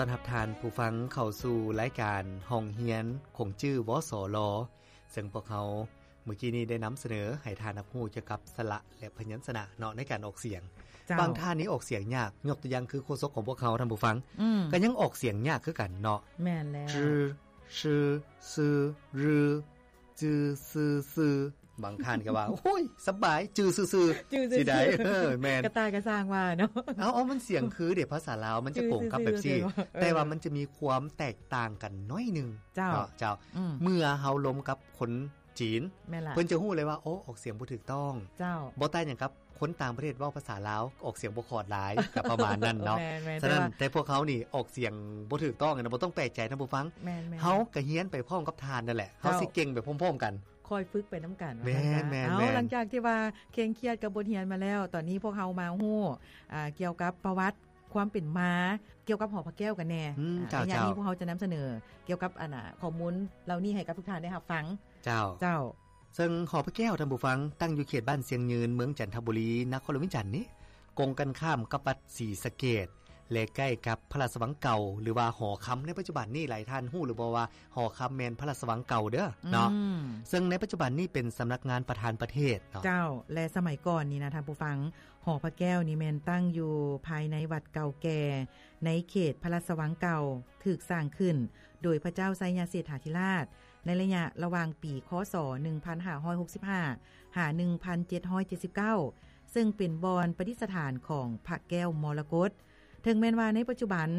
ຕ້ອນຮັບທ່ານຜູ້ຟັງເຂົ້າສູ່ລາຍການຫ້ອງຮຽນຂົງຈື່ ວສລ ເຊິ່ງພວກເຮົາມື້ກີ້ນີ້ໄດ້ນຳສະເໜີໃຫ້ທ່ານຮັບຮູ້ກ່ຽວກັບສະຫຼະ ແລະ ພະຍັນຊະນະເນາະ ໃນການອອກສຽງ. ເຈົ້າ. ບາງທ່ານນີ້ອອກສຽງຍາກ, ຍົກຕົວຢ່າງຄືໂຄສົກຂອງພວກເຮົາ, ທ່ານຜູ້ຟັງ, ອືມ, ກໍຍັງອອກສຽງຍາກຄືກັນເນາະ. ແມ່ນແລ້ວ. ຊື່ ຊື່ ຊື່ ຫຼື ຈື່ ຊື່ ຊື່ ບາງທ່ານກໍວ່າ ໂອ້ຍ ສະບາຍ ຈື່ຊື່ໆ ຈື່ຊື່ໆ ຊິໄດ້ ເອີ ແມ່ນ ກະຕ່າຍກໍສ້າງວ່າເນາະ. ເອົາ ເອົາ ມັນສຽງຄືເດ ພາສາລາວມັນຈະກົງກັບແບບຊີ້ ແຕ່ວ່າມັນຈະມີຄວາມແຕກຕ່າງກັນໜ້ອຍໜຶ່ງ. ເຈົ້າ ເນາະ ເຈົ້າ. ອືມ ເມື່ອເຮົາລົມກັບຄົນຈີນ ແມ່ນລະ ເພິ່ນຈະຮູ້ເລີຍວ່າ ໂອ້ ອອກສຽງບໍ່ຖືກຕ້ອງ. ເຈົ້າ. ບໍ່ຕ່າງຫຍັງກັບຄົນຕ່າງປະເທດເວົ້າພາສາລາວ ອອກສຽງບໍ່ຂອດຫຼາຍ ກໍປະມານນັ້ນເນາະ. ແມ່ນໆ ສະນັ້ນ ແຕ່ວ່າ ແຕ່ພວກເຮົານີ້ອອກສຽງບໍ່ຖືກຕ້ອງນະ ບໍ່ຕ້ອງແປກໃຈນະຜູ້ຟັງ. ແມ່ນໆ ເຮົາກໍຮຽນໄປພ້ອມກັບທ່ານນັ້ນແຫຼະ. ເຈົ້າ. ເຮົາຊິເກັ່ງໄປພ້ອມໆກັນ ຄ່ອຍຝຶກໄປນຳກັນ. ແມ່ນໆໆ. ເອົາ ຫຼັງຈາກທີ່ວ່າເຄັ່ງຄຽດກັບບົດຮຽນມາແລ້ວ ຕອນນີ້ພວກເຮົາມາຮູ້ ອ່າ ກ່ຽວກັບປະຫວັດຄວາມເປັນມາ ກ່ຽວກັບຫໍພະແກ້ວກັນແດ່. ອືມ ເຈົ້າ ໃນຍາມນີ້ ເຈົ້າ ພວກເຮົາຈະນຳສະເໜີກ່ຽວກັບ ອັນນ່າ ຂໍ້ມູນເຫຼົ່ານີ້ໃຫ້ກັບທຸກທ່ານໄດ້ຮັບຟັງ. ເຈົ້າ ເຈົ້າ. ເຊິ່ງຫໍພະແກ້ວ ທ່ານຜູ້ຟັງ ຕັ້ງຢູ່ເຂດບ້ານຊຽງຍືນ ເມືອງຈັນທະບູລີ ນະຄອນຫຼວງວຽງຈັນນີ້ ກົງກັນຂ້າມກັບວັດສີສະເກດ ແລະ ໃກ້ກັບພະລາຊະວັງເກົ່າ ຫຼືວ່າຫໍຄຳໃນປັດຈຸບັນນີ້. ຫຼາຍທ່ານຮູ້ຫຼືບໍ່ວ່າ ຫໍຄຳແມ່ນພະລາຊະວັງເກົ່າເດີເນາະ. ອືມ ເຊິ່ງໃນປັດຈຸບັນນີ້ເປັນສຳນັກງານປະທານປະເທດເນາະ. ເຈົ້າ. ແລະ ສະໄໝກ່ອນນີ້ນະ ທ່ານຜູ້ຟັງ, ຫໍພະແກ້ວນີ້ແມ່ນຕັ້ງຢູ່ພາຍໃນວັດເກົ່າແກ່ ໃນເຂດພະລາຊະວັງເກົ່າ, ຖືກສ້າງຂຶ້ນໂດຍພະເຈົ້າໄຊຍະເສດຖາທິລາດ ໃນໄລຍະລະຫວ່າງປີ ຄ.ສ. ໜຶ່ງພັນຫ້າຮ້ອຍຫົກສິບຫ້າ ຫາ ໜຶ່ງພັນເຈັດຮ້ອຍເຈັດສິບເກົ້າ ເຊິ່ງເປັນບ່ອນປະດິດສະຖານຂອງພະແກ້ວມໍລະກົດ. ເຖິງແມ່ນວ່າໃນປັດຈຸບັນ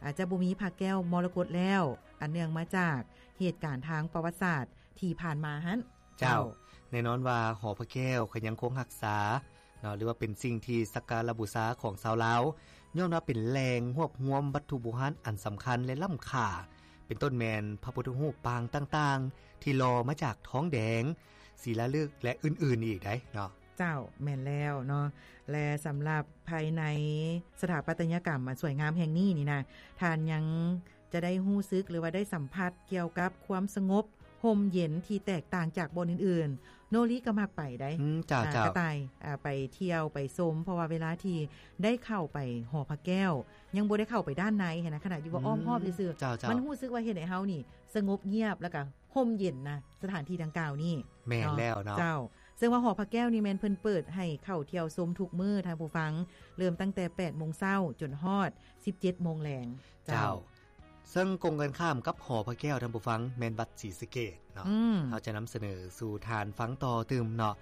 ອາດຈະບໍ່ມີພະແກ້ວມໍລະກົດແລ້ວ ອັນເນື່ອງມາຈາກເຫດການທາງປະຫວັດສາດທີ່ຜ່ານມາຫັ້ນ. ເຈົ້າ. ເຈົ້າ. ແນ່ນອນວ່າຫໍພະແກ້ວກໍຍັງຄົງຮັກສາເນາະ ຫຼືວ່າເປັນສິ່ງທີ່ສັກກາລະບູຊາຂອງຊາວລາວ ຍ້ອນວ່າເປັນແຫຼ່ງຮວບຮວມວັດຖຸໂບຮານອັນສຳຄັນ ແລະ ລ້ຳຄ່າ ເປັນຕົ້ນແມ່ນພະພຸດທະຮູບປາງຕ່າງໆ ທີ່ຫຼໍ່ມາຈາກທອງແດງ, ສີລາລຶກ ແລະ ອື່ນໆອີກໄດ໋ເນາະ. ເຈົ້າ, ແມ່ນແລ້ວເນາະ. ແລະ ສຳລັບພາຍໃນສະຖາປັດຕະຍະກຳອັນສວຍງາມແຫ່ງນີ້ນີ້ນະ, ທ່ານຍັງຈະໄດ້ຮູ້ສຶກ ຫຼືວ່າໄດ້ສຳຜັດກ່ຽວກັບຄວາມສະຫງົບຮົ່ມເຢັນທີ່ແຕກຕ່າງຈາກບ່ອນອື່ນໆ. ໂນລິກໍມັກໄປໄດ໋. ອືມ, ເຈົ້າ, ອ່າ, ເຈົ້າ. ກະຕ່າຍ, ອ່າ, ໄປທ່ຽວໄປຊົມ, ເພາະວ່າເວລາທີ່ໄດ້ເຂົ້າໄປຫໍພະແກ້ວ, ຍັງບໍ່ໄດ້ເຂົ້າໄປດ້ານໃນຫັ້ນນະ, ຂະໜາດຢູ່ວ່າອ້ອມຮອບຊື່ໆ, ເຈົ້າ, ເຈົ້າ. ມັນຮູ້ສຶກວ່າເຮັດໃຫ້ເຮົານີ້ສະຫງົບງຽບ ແລ້ວກະ ຮົ່ມເຢັນນະ ສະຖານທີ່ດັ່ງກ່າວນີ້. ແມ່ນແລ້ວເນາະ. ເຈົ້າ. ເຊິ່ງວ່າຫໍພະແກ້ວນີ້ແມ່ນເພິ່ນເປີດໃຫ້ເຂົ້າທ່ຽວຊົມທຸກມື້, ທ່ານຜູ້ຟັງ, ເລີ່ມຕັ້ງແຕ່ແປດໂມງເຊົ້າຈົນຮອດສິບເຈັດໂມງແລງ. ເຈົ້າ. ເຈົ້າ. ເຊິ່ງກົງກັນຂ້າມກັບຫໍພະແກ້ວ, ທ່ານຜູ້ຟັງ, ແມ່ນວັດສີສະເກດເນາະ. ອືມ. ເຮົາຈະນຳສະເໜີສູ່ທ່ານຟັງຕໍ່ຕື່ມເນາະ.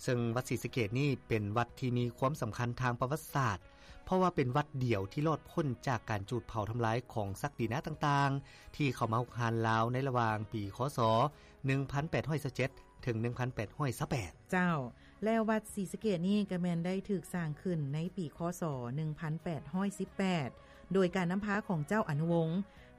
ເຊິ່ງວັດສີສະເກດນີ້ເປັນວັດທີ່ມີຄວາມສຳຄັນທາງປະຫວັດສາດ, ເພາະວ່າເປັນວັດດຽວທີ່ລອດພົ້ນຈາກການຈູດເຜົາທຳລາຍຂອງສັກດິນາຕ່າງໆ ທີ່ເຂົ້າມາຮຸກຮານລາວໃນລະຫວ່າງປີ ຄ.ສ. ໜຶ່ງພັນແປດຮ້ອຍຊາວເຈັດ ເຖິງ ໜຶ່ງພັນແປດຮ້ອຍຊາວແປດ. ເຈົ້າ. ແລ້ວວັດສີສະເກດນີ້ກໍແມ່ນໄດ້ຖືກສ້າງຂຶ້ນໃນປີ ຄ.ສ. ໜຶ່ງພັນແປດຮ້ອຍສິບແປດ ໂດຍການນຳພາຂອງເຈົ້າອະນຸວົງ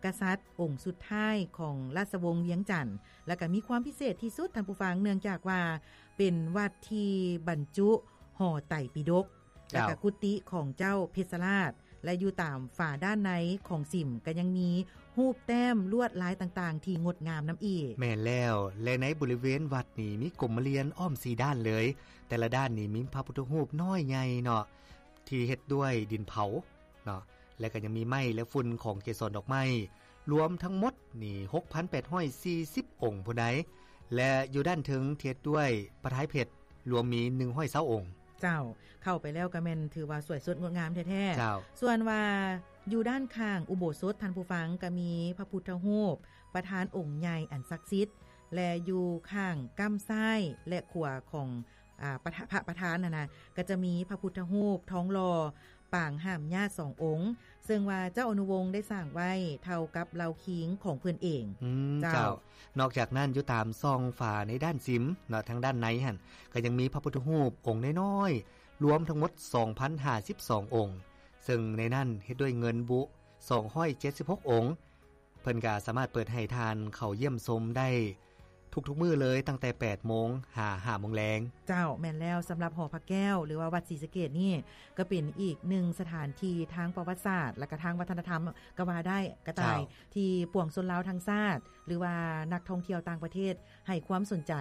ກະສັດອົງສຸດທ້າຍຂອງລາຊະວົງວຽງຈັນ, ແລ້ວກໍມີຄວາມພິເສດທີ່ສຸດ, ທ່ານຜູ້ຟັງ, ເນື່ອງຈາກວ່າ ເປັນວັດທີ່ບັນຈຸຫໍໄຕປິດົກ ເຈົ້າ. ແລ້ວກໍກຸຕິຂອງເຈົ້າເພັດຊະລາດ, ແລະ ຢູ່ຕາມຝາດ້ານໃນຂອງສິມ ກໍຍັງມີຮູບແຕ້ມລວດລາຍຕ່າງໆທີ່ງົດງາມນຳອີກ. ແມ່ນແລ້ວ, ແລະ ໃນບໍລິເວນວັດນີ້ມີກົມມະລຽນອ້ອມສີ່ດ້ານເລີຍ, ແຕ່ລະດ້ານນີ້ມີພະພຸດທະຮູບນ້ອຍໃຫຍ່ເນາະ ທີ່ເຮັດດ້ວຍດິນເຜົາເນາະ, ແລະ ກໍຍັງມີໄມ້ ແລະ ຝຸ່ນຂອງເກສອນດອກໄມ້ ລວມທັງໝົດນີ້ ຫົກພັນແປດຮ້ອຍສີ່ສິບອົງພຸ້ນໃດ໋ ແລະ ຢູ່ດ້ານເທິງເຮັດດ້ວຍປະທາຍເພັດ ລວມມີໜຶ່ງຮ້ອຍຊາວອົງ. ເຈົ້າ. ເຂົ້າໄປແລ້ວກໍແມ່ນຖືວ່າສວຍສົດງົດງາມແທ້ໆ. ເຈົ້າ. ສ່ວນວ່າຢູ່ດ້ານຂ້າງອຸໂບສົດ, ທ່ານຜູ້ຟັງ, ກໍມີພະພຸດທະຮູບປະທານອົງໃຫຍ່ອັນສັກສິດ ແລະ ຢູ່ຂ້າງກ້ຳຊ້າຍ ແລະ ຂວາຂອງ ອາ ປະທະ ພະປະທານຫັ້ນນະ ກໍຈະມີພະພຸດທະຮູບທອງຫຼໍ່ ປາງຫ້າມຍາດສອງອົງ, ເຊິ່ງວ່າເຈົ້າອະນຸວົງໄດ້ສ້າງໄວ້ເທົ່າກັບເຫຼົ່າຄີງຂອງເພິ່ນເອງ. ອືມ, ເຈົ້າ. ເຈົ້າ. ນອກຈາກນັ້ນ, ຢູ່ຕາມຊ່ອງຝາໃນດ້ານສິມເນາະ, ທາງດ້ານໃນຫັ້ນ ກໍຍັງມີພະພຸດທະຮູບອົງນ້ອຍໆ ລວມທັງໝົດສອງພັນຫ້າສິບສອງອົງ, ເຊິ່ງໃນນັ້ນເຮັດດ້ວຍເງິນບຸສອງຮ້ອຍເຈັດສິບຫົກອົງ. ເພິ່ນກໍສາມາດເປີດໃຫ້ທ່ານເຂົ້າຢ້ຽມຊົມໄດ້ທຸກໆມື້ເລີຍ, ຕັ້ງແຕ່ແປດໂມງຫາຫ້າໂມງແລງ. ເຈົ້າ, ແມ່ນແລ້ວ. ສຳລັບຫໍພະແກ້ວ ຫຼືວ່າວັດສີສະເກດນີ້ ກໍເປັນອີກໜຶ່ງສະຖານທີ່ທາງປະຫວັດສາດ ແລະ ກະທາງວັດທະນະທຳກໍວ່າໄດ້ ກະຕ່າຍ ເຈົ້າ. ທີ່ປວງຊົນລາວທັງຊາດ ຫຼືວ່ານັກທ່ອງທ່ຽວຕ່າງປະເທດ ໃຫ້ຄວາມສົນໃຈ,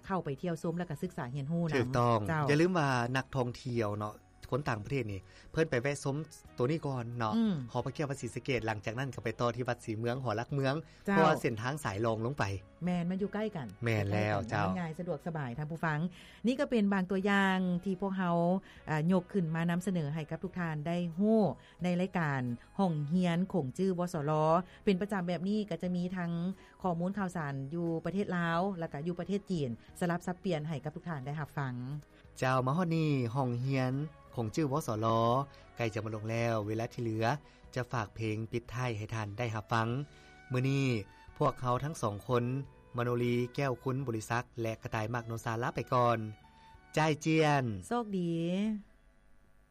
ເຂົ້າໄປທ່ຽວຊົມ ແລະ ກະສຶກສາຮຽນຮູ້ນຳ. ຖືກຕ້ອງ. ເຈົ້າ. ຢ່າລືມວ່ານັກທ່ອງທ່ຽວເນາະ, ຄົນຕ່າງປະເທດນີ້ ເພິ່ນໄປແວະຊົມໂຕນີ້ກ່ອນເນາະ ອືມ ຫໍພະແກ້ວວັດສີສະເກດ ຫຼັງຈາກນັ້ນກໍໄປຕໍ່ທີ່ວັດສີເມືອງ ຫໍຫຼັກເມືອງ ເຈົ້າ ເພາະວ່າເສັ້ນທາງສາຍລອງລົງໄປ ແມ່ນ ມັນຢູ່ໃກ້ກັນ ແມ່ນແລ້ວ ເຈົ້າ ມັນງ່າຍສະດວກສະບາຍ ທ່ານຜູ້ຟັງ. ນີ້ກໍເປັນບາງຕົວຢ່າງທີ່ພວກເຮົາ ອາ ຍົກຂຶ້ນມານຳສະເໜີໃຫ້ກັບທຸກທ່ານໄດ້ຮູ້ ໃນລາຍການຫ້ອງຮຽນຂົງຈື່ ວສລ ເປັນປະຈຳແບບນີ້ ກໍຈະມີທັງຂໍ້ມູນຂ່າວສານຢູ່ປະເທດລາວ ແລ້ວກໍຢູ່ປະເທດຈີນ ສະຫຼັບສັບປ່ຽນໃຫ້ກັບທຸກທ່ານໄດ້ຮັບຟັງ. ເຈົ້າ ມາຮອດນີ້ ຫ້ອງຮຽນຂົງຈື່ ວສລ ໃກ້ຈະໝົດລົງແລ້ວ, ເວລາທີ່ເຫຼືອຈະຝາກເພງປິດທ້າຍໃຫ້ທ່ານໄດ້ຮັບຟັງ. ມື້ນີ້ພວກເຮົາທັງສອງຄົນ ມະໂນລີ ແກ້ວຄຸນ ບໍລິສັກ ແລະ ກະຕ່າຍ ມາກໂນຊາ ລາໄປກ່ອນ. ຈ່າຍຈຽນ! ໂຊກດີ!